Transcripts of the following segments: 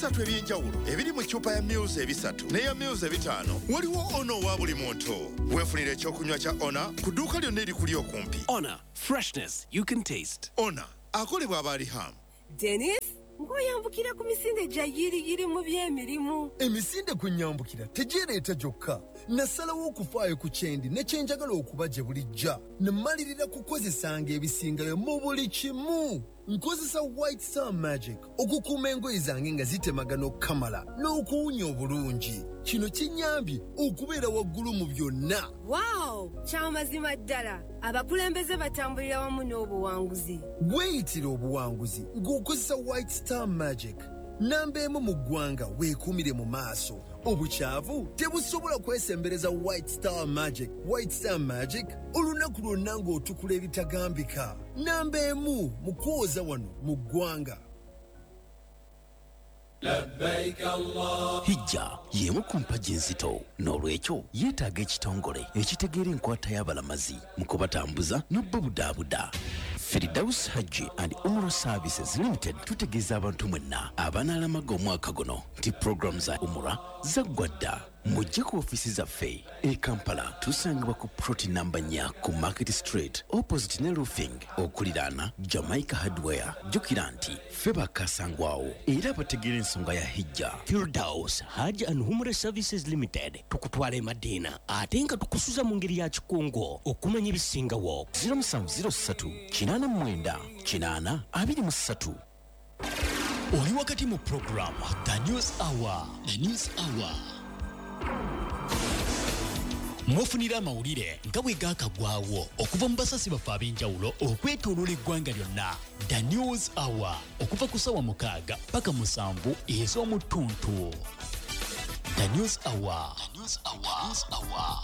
Ebisatu eby'enjawulo ebiri mu ccupa ya mils 3 n'eya mils 5 waliwo Ona owa buli muntu. Weefunira ekyokunywa kya Ona ku dduuka lyonna erikuli okumpi. Honor, freshness you can taste. Ona akolebwa abaalihamu. Denis, ng'oyambukira ku misinde gya yiriyiri mu by'emirimu. Emisinde kwe nnyambukira tegyereeta gyokka. Nasalawo okufaayo ku kyendi ne kye njagala okuba gye bulijja. Ne mmalirira kukozesanga ebisingayo mu buli kimu. Nkozesa White Star Magic okukuuma engoye zange nga zitemagana okukamala n'okuwunya obulungi. Kino kinnyambye okubeera waggulu mu byonna. Wow! Kya mazima ddala abakulembeze batambulira wamu n'obuwanguzi. Weeyitire obuwanguzi ng'okozesa White Star Magic. Namba emu mu ggwanga weekuumire mu maaso. Obukyavu tebusobola kwesembereza White Star Magic. White Star Magic olunaku lwonna ng'otukula ebitagambika. Namba emu mu kwoza wano mu ggwanga. Hijja y'emu ku mpagi enzito, n'olwekyo yeetaaga ekitongole ekitegeera enkwata y'abalamazi mu kubatambuza n'obubudaabuda. Firdaus Hajji and Umrah Services Limited tutegeeza abantu mwenna abanaalamaga omwaka guno nti pulogulaamu za Umrah zaggwa dda. Mujje ku ofiisi zaffe e Kampala, tusangibwa ku plot namba 4 ku Market Street opposite ne Roofing okuliraana Jamaica Hardware. Jjukira nti ffe bakasangwawo era abategeera ensonga ya Hijja. Firdaus Hajj and Umrah Services Limited tukutwala e Madina ate nga tukusuza mu ngeri ya kikungo okumanya ebisingawo. 0703 89 8 23. Oli wakati mu program The News Hour. The News Hour. Mwofunira amawulire nga bwe gaakagwawo okuva mu basasi baffe ab'enjawulo okwetooloola eggwanga lyonna. The News Hour okuva ku ssaawa 6 paka 7 ez'omu ttuntu. The News Hour. The News Hour. The News Hour.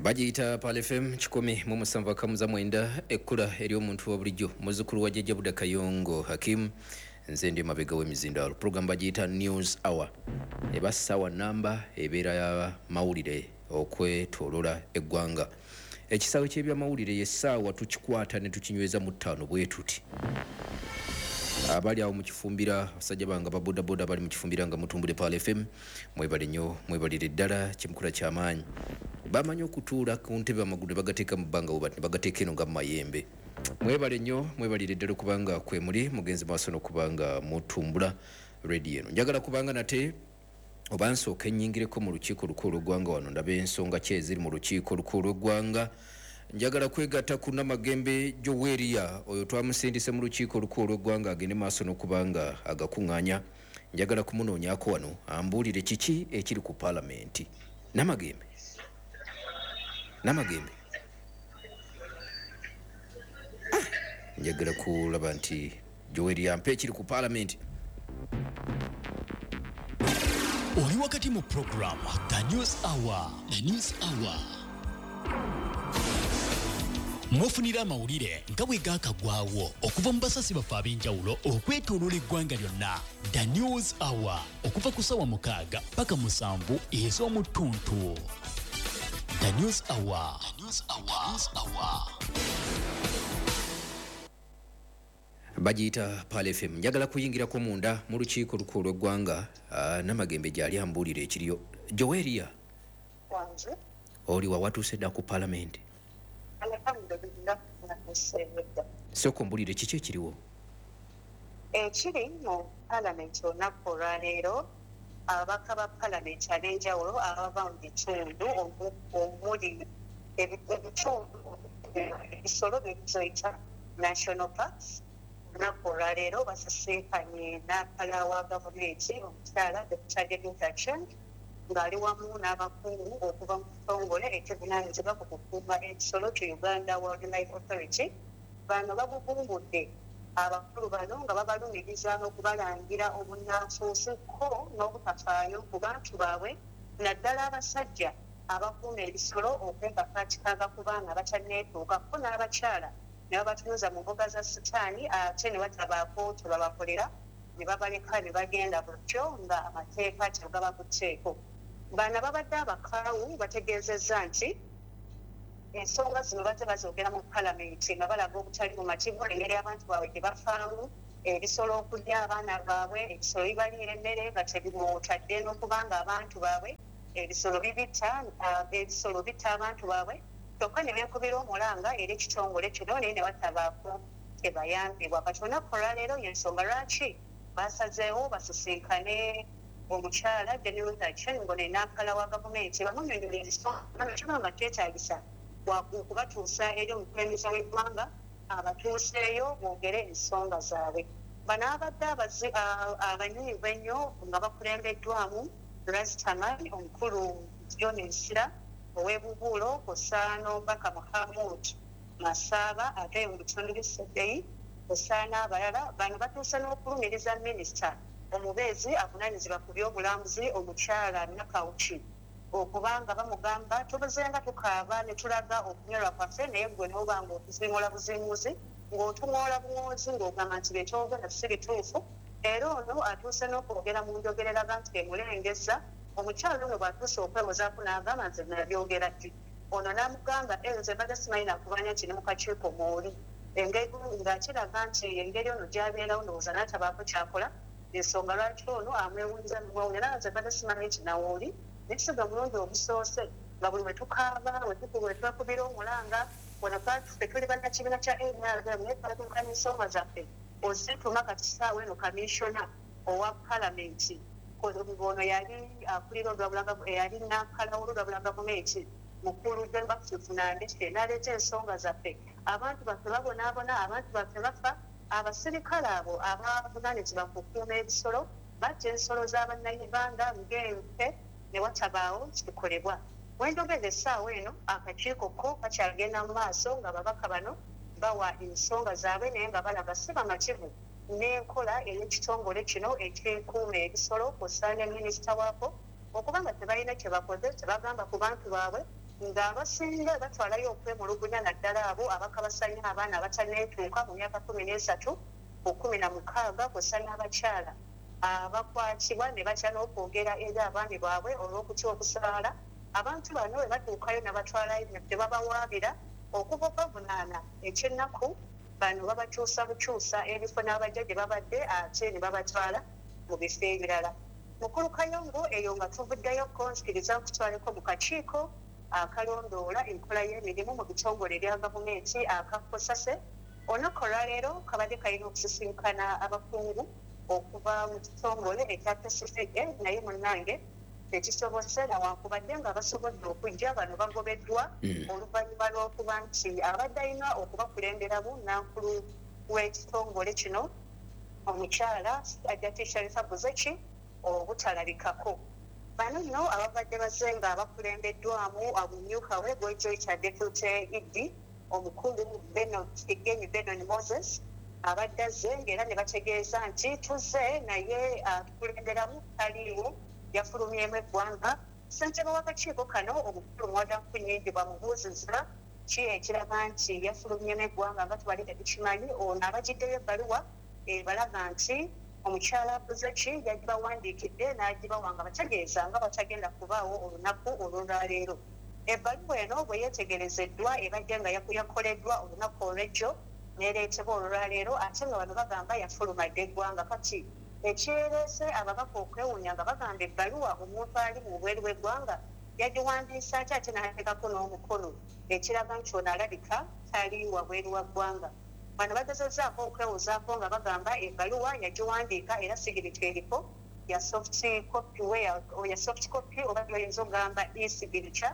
Bagiyita Pearl FM 107.9, ekkula ery'omuntu wa bulijjo, muzzukulu wa Jjajja Buda Kayongo Hakim. Nze ndi mabega w'emizindaalo. Program bagiyita News Hour, eba ssaawa namba ebeera ya mawulire okwetoolola eggwanga. Ekisaawe ky'ebyamawulire y'essaawa tukikwata ne tukinyweza mu 5 bwe tuti. Abali awo mu kifumbira, abasajja bange aba bodaboda bali mu kifumbira nga mutumbudde Pearl FM, mwebale nnyo, mwebalire ddala, kyemukula kyamaanyi. Bamanyi okutuula ku ntebe amagulu ne bagateeka mu bbanga bwe bati, ne bagateeka eno nga mu mayembe. Mwebale nnyo, mwebalire ddala okubanga kwe muli, mugenze maaso n'okubanga mutumbula rediyo eno. Njagala kubanga nate oba nsooke nnyingireko mu lukiiko olukulu lw'eggwanga wano, ndabe ensonga ki eziri mu lukiiko olukulu lw'eggwanga. Njagala kwegatta ku Namagembe Joweria, oyo twamusindise mu lukiiko olukulu lw'eggwanga agende maaso n'okubanga agakuŋŋaanya. Njagala kumunoonyaako wano ambuulire kiki ekiri ku paalamenti. Namagembe, Namagembe, njagala kulaba nti Joweria ampe ekiri ku paalamenti. Oli wakati mu program The News Hour. The News Hour. Mwofunira amawulire nga bwe gaakagwawo okuva mu basasi baffe ab'enjawulo okwetooloola eggwanga lyonna. The News Hour okuva ku ssaawa 6 paka 7 ez'omu ttuntu. The News Hour. The News Hour. The News Hour. Bagiyita Pearl FM. Njagala kuyingirako munda mu lukiiko olukulu lw'eggwanga, Namagembe gy'ali ambuulire ekiriyo. Joweria, oli wa watuuse dda ku paalamenti? Sooka ombuulire kiki ekiriwo. Ekiri mu paalamenti olunaku olwaleero, ababaka ba paalamenti ab'enjawulo abava mu bitundu omuli ebitundu ebisolo bye tuyita National Parks, olunaku olwaleero basisinkanye n'akala wa gavumenti omukyala Dr. Judith Aceng ng'ali wamu n'abakungu okuva mu kitongole ekivunaanyizibwa ku kukuuma ebisolo ki Uganda Wildlife Authority. Bano bagugumbudde abakulu bano nga babalumiriza n'okubalangira obunnanfuusi ko n'obutafaayo ku bantu baabwe, naddala abasajja abakuuma ebisolo okwekakaatikanga ku baana abatanneetuuka ko n'abakyala ne babatunuza mu mbuga za sitaani ate ne batabaako kye babakolera ne babaleka ne bagenda butyo nga amateeka tegabakutteko. Bano ababadde abakaawu bategeezezza nti ensonga zino bazze bazoogera mu palamenti nga balaga obutali bumativu engeri abantu baabwe gye bafaamu, ebisolo okulya abaana baabwe, ebisolo bibaliira emmere nga tebimwotadde n'okuba nga abantu baabwe ebisolo bibitta, ebisolo bitta abantu baabwe, kyokka ne beekubira omulanga eri ekitongole kino naye ne batabaako kyebayambibwa. Kati olunaku olwaleero y'ensonga lwaki basazeewo basisinkane omukyala Jane Ruth Aceng ng'ono ye nampala wa gavumenti bamunnyonnyole ensonga kiba nga kyetaagisa okubatuusa eri omukulembeze w'eggwanga abatuuseeyo boogere ensonga zaabwe. Bano ababadde abanyiivu ennyo nga bakulembeddwamu Rastaman omukulu John Nsira ow'e Bubuulo kw'ossa n'omubaka Muhamood Masaaba ate mu bitundu by'e Sebei kw'ossa n'abalala. Bano batuuse n'okulumiriza minisita omubeezi avunaanyizibwa ku by'obulambuzi omukyala Nakawuki okuba nga bamugamba tubuzenga tukaaba ne tulaga okunyolwa kwaffe naye ggwe n'oba ng'otuziimuula buziimuuzi ng'otuŋoola buŋoozi ng'ogamba nti bye twogera si bituufu. Era ono atuuse n'okwogera mu njogera eraga nti emulengezza. Omukyala ono bw'atuuse okwewozaako n'agamba nze nabyogera ddi? Ono n'amugamba eh nze mbadde simanyi nakubanya nti ne mu kakiiko mw'oli ng'akiraga nti engeri ono gy'abeerawo ndowooza n'atabaako ky'akola y'ensonga lwaki ono amwewunyiza n'omwewuunya n'agamba nze mbadde simanyi nti nawe oli naye si gwe mulundi ogusoose nga buli lwe tukaaba lwe twekubira omulanga wano ffe tuli bannakibiina kya nrm naye twatuukanya ensonga zaffe ozituma kati ssaawa eno kaminsona owa palamenti ono yali akulira eyali nampala w'olulabula gavumenti mukulu John Baptist Nandeke n'aleeta ensonga zaffe. Abantu baffe babonaabona, abantu baffe bafa, abasirikale abo abavunaanyizibwa ku kukuuma ebisolo batta ensolo za Bannayuganda ng'ente ne watabaawo kikolebwa. We njogerera essaawa eno akakiiko ko kakyagenda mu maaso ng'ababaka bano bawa ensonga zaabwe naye nga balaga si bamativu n'enkola ey'ekitongole kino ekikuuma ebisolo kw'ossa ne minisita waako okuba nga tebalina kye bakoze tebagamba ku bantu baabwe ng'abasinga batwalayo okwemulugunya naddala abo abakabasanya abaana abatanneetuuka mu myaka 13 ku 16 kw'ossa n'abakyala abakwatibwa ne batya n'okwogera eri abaami baabwe olw'okutya okusaala. Abantu bano bwe batuukayo nabatwalayo tebabawaabira okuva okubavunaana eky'ennaku bano babakyusa bukyusa ebifo n'abajja gye babadde ate ne babatwala mu bifo ebirala. Mukulu Kayongo eyo nga tuvuddeyokko nzikiriza nkutwaleko mu kakiiko akalondoola enkola y'emirimu mu bitongole ebya gavumenti aka cosase. Olunaku olwaleero kabadde kalina okusisinkana abakungu okuva mu kitongole ekya KCCA naye munnange tekisobose nawankubadde nga basobodde okujja bano bagobeddwa oluvannyuma lw'okuba nti abadde alina okubakulemberamu nankulu w'ekitongole kino omukyala Hajjati Sharifa Buzeki obutalabikako. Bano nno ababadde bazze nga bakulembeddwamu omumyuka we gw'oyita Deputy ED omukulu Benon Kigenyi Benon Moses abadde azze ng'era ne bategeeza nti tuzze naye atukulemberamu taliiwo yafulumyemu eggwanga. Ssentebe w'akakiiko kano omukulu Muwada Nkunyingi bw'amubuuzizza ki ekiraga nti yafulumyemu eggwanga nga tubadde tetukimanyi ono abagiddeyo ebbaluwa ebalaga nti omukyala Buzeki yagibawandiikidde n'agibawa nga bategeeza nga bw'atagenda kubaawo olunaku olw'olwaleero. Ebbaluwa eno bwe yeetegerezeddwa ebadde nga yakoleddwa olunaku olw'ejjo n'ereetebwa olwaleero ate nga bano bagamba yafuluma dda eggwanga. Kati ekireese ababaka okwewuunya nga bagamba ebbaluwa omuntu ali mu bweru bw'eggwanga yagiwandiise atya ate n'ateekako n'omukono ekiraga nti ono alabika tali wabweru wa ggwanga. Bano bagezezzaako okwewozaako nga bagamba ebbaluwa yagiwandiika era sigirica eriko ya soft copy ya soft copy oba gy'oyinza okugamba e-signature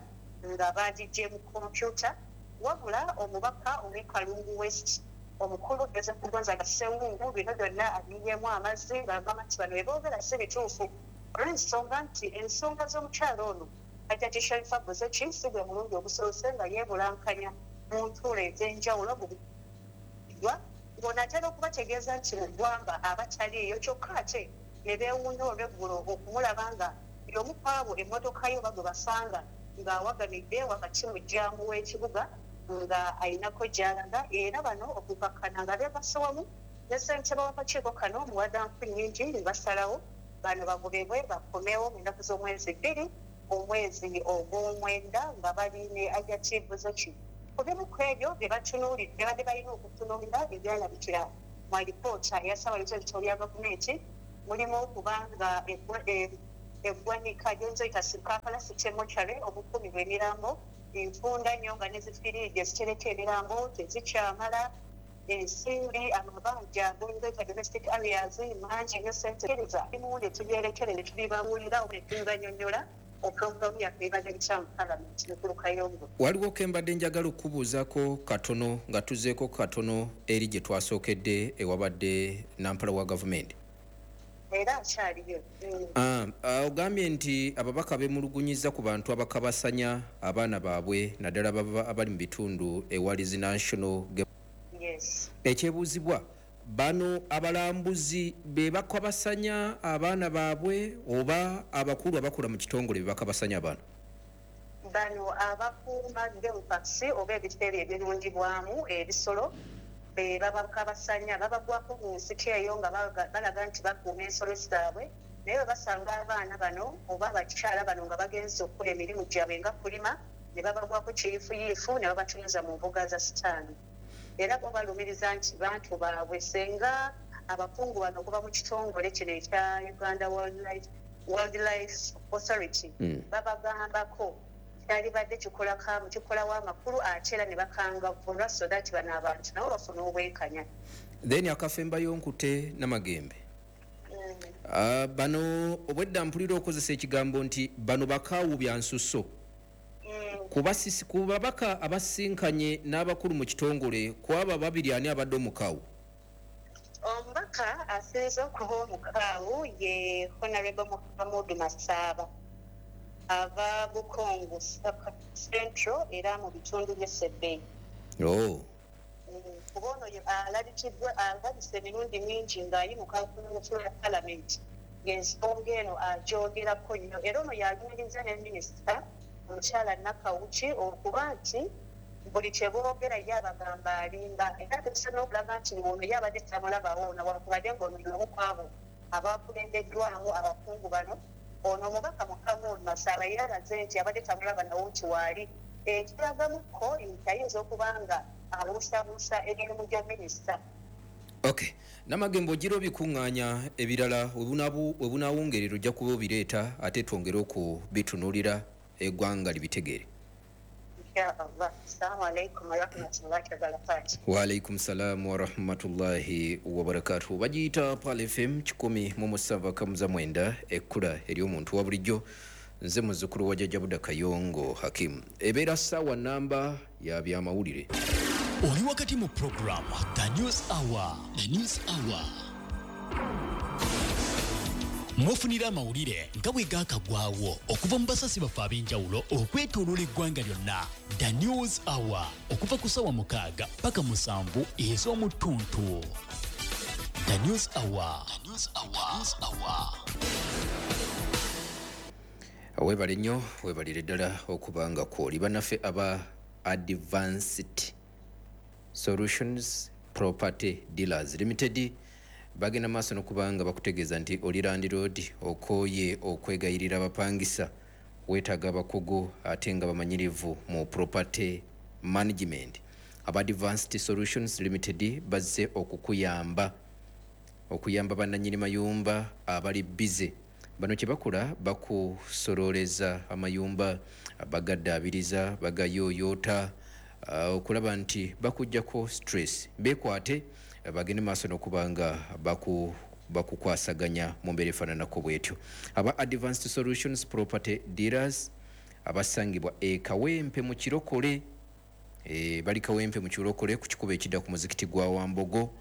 nga baagiggye mu kompyuta. Wabula omubaka ow'e Kalungu West omukulu Joseph Gonzaga Ssewungu bino byonna abiyiyeemu amazzi ng'agamba nti bano bye boogera si bituufu olw'ensonga nti ensonga z'omukyala ono Hajjati Sharifa Buzeki si gwe mulundi ogusoose nga yeebulankanya mu ntuula ez'enjawulo mu ng'ono atera okubategeeza nti mu ggwanga aba taliiyo kyokka ate ne beewuunya olw'eggulo okumulaba nga y'omu kw'abo emmotoka ye oba gwe basanga ng'awagamidde wakati mu jjaamu w'ekibuga nga alinako gy'alaga era bano okukakkana nga beegasse wamu ne ssentebe w'akakiiko kano Muwada Nkunnyingi ne basalawo bano bagobebwe bakomewo mu nnaku z'omwezi bbiri Omwezi ogw'omwenda nga bali ne Hajjati Buzoki. Ku bimu ku ebyo bye batunuulidde, babadde balina okutunuulira ebyalabikira mu alipoota eya Ssaabawooza w'ebitabo bya gavumenti, mulimu okubanga eggwanika gy'oyita Kampala City Mortuary, obukuumibwa emirambo enfunda nnyo, nga ne zifiriigi ezitereka emirambo tezikyamala, ensimbi, amabanja goyita domestic arrears mangi nnyo, sente kkiriza bimu ne tubyerekere ne tubibabuulira ne tubibanyonnyola. Opulogulaamu yaffe ebadde bitya mu palamenti, mukulu Kayongo? Waliwo ke mbadde njagala okukubuuzaako katono nga tuzeeko katono eri gye twasookedde ewabadde nampala wa gavumenti. Era akyaliyo. Ah, ogambye nti ababaka bemulugunyiza ku bantu abakabasanya abaana baabwe, naddala abali mu bitundu ewali zi national Yes. Ekyebuuzibwa, bano abalambuzi be bakabasanya abaana baabwe oba abakulu abakola mu kitongole be bakabasanya abaana? Bano abakuuma game parks oba ebifo ebyo ebirundibwamu ebisolo be babakabasanya. Babagwako mu nsiko eyo nga balaga nti bakuuma ensolo zaabwe, naye bwe basanga abaana bano oba abakyala bano nga bagenze okukola emirimu gyabwe nga kulima, ne babagwako kiyiifuyiifu ne babatunuza mu mbuga za sitaani. Era bo balumiriza nti bantu baabwe, senga abakungu bano okuva mu kitongole kino ekya Uganda Wildlife Authority babagambako kyalibadde kikolawo amakulu, ate era ne bakangavvulwa so that bano abantu nabo bafune obwenkanya. Then akafembayo, nkute namagembe. Bano obwedda mpulira okozesa ekigambo nti bano bakaawu bya nsusso. Ku babaka abasinkanye n'abakulu mu kitongole, ku abo babiri ani abadde omukaawu? Omubaka asinze okuba omukaawu ye Honorable Muhamudu Masaaba, ava Bukongo Central era mu bitundu by'e Sebei. Kuba ono alabikiddwa, alabise emirundi mingi ng'ayimuka ku floor ya palamenti ng'ensonga eno agyogerako nnyo. Era ono yalumiriza ne minisita omukyala Nakawuki okuba nti buli kye boogera ye abagamba alimba, era atuuse n'okulaga nti ono ye abadde tamulabawo, nawankubadde ng'ono y'omu ku abo abakulembeddwamu abakungu bano. Ono omubaka Muhammad Masaaba yalaze nti abadde tamulaba nawo nti waali, ekiragamuko nti ayinza okuba nga abuusabuusa emirimu gya minisita. Okay, Namagembe, ogira obikuŋŋaanya ebirala, we bunaawungerera ojja kuba obireeta ate twongere okubitunuulira, eggwanga libitegeere. Inshallah. Assalamu alaikum warahmatullahi wabarakatuh. Waalaikum salaamu warahmatullahi wabarakatuh. Bagiyita Pal FM 107.9, ekkula ery'omuntu wa bulijjo. Nze muzzukulu wa Jjajja Buda Kayongo Hakimu. Ebeera ssaawa namba ya byamawulire. Oli wakati mu program The News Hour. The News Hour mufunira amawulire nga bwe gaakagwawo okuva mu basasi baffe ab'enjawulo okwetooloola eggwanga lyonna. The News Hour okuva ku ssaawa 6 paka 7 ez'omuttuntu. The News Hour. The News Hour. The News Hour. Weebale nnyo, weebalire ddala okuba nga kwoli. Bannaffe aba Advanced Solutions Property Dealers Limited bagenda maaso n'okuba nga bakutegeeza nti oli landlord, okooye okwegayirira abapangisa, weetaaga abakugu ate nga bamanyirivu mu property management. Aba Advanced Solutions Limited bazze okukuyamba, okuyamba bannannyini mayumba abali bize. Bano kye bakola, bakusololeza amayumba, bagaddaabiriza, bagayooyoota, okulaba nti bakugjako stress. Beekwate, bagende maaso n'okuba nga bakukwasaganya mu mbeera efaananako bwetyo. Aba Advanced Solutions Property Dealers abasangibwa e Kawempe mu Kirokole, bali Kawempe mu Kirokole ku kikubo ekidda ku muzikiti gwa Wambogo,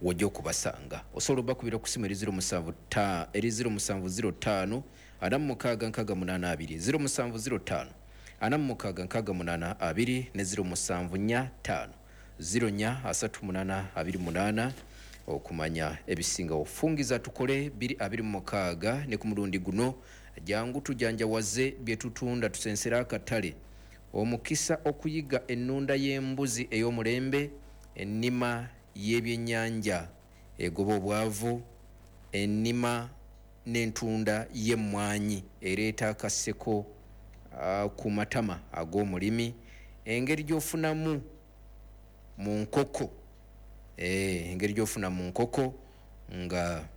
wojja okubasanga. Osobola obakubira ku simu eri 07 eri 0705 46 68 2, 0705 46 68 2 ne 0745 04 38 28 okumanya ebisingawo. Fungiza tukole 226 ne ku mulundi guno jangu tujanjawaze bye tutunda, tusensere akatale. Omukisa okuyiga ennunda y'embuzi ey'omulembe, ennima y'ebyennyanja egoba obwavu, ennima n'entunda y'emmwanyi ereeta akaseko ku matama ag'omulimi, engeri gy'ofunamu mu nkoko, engeri gy'ofuna mu nkoko nga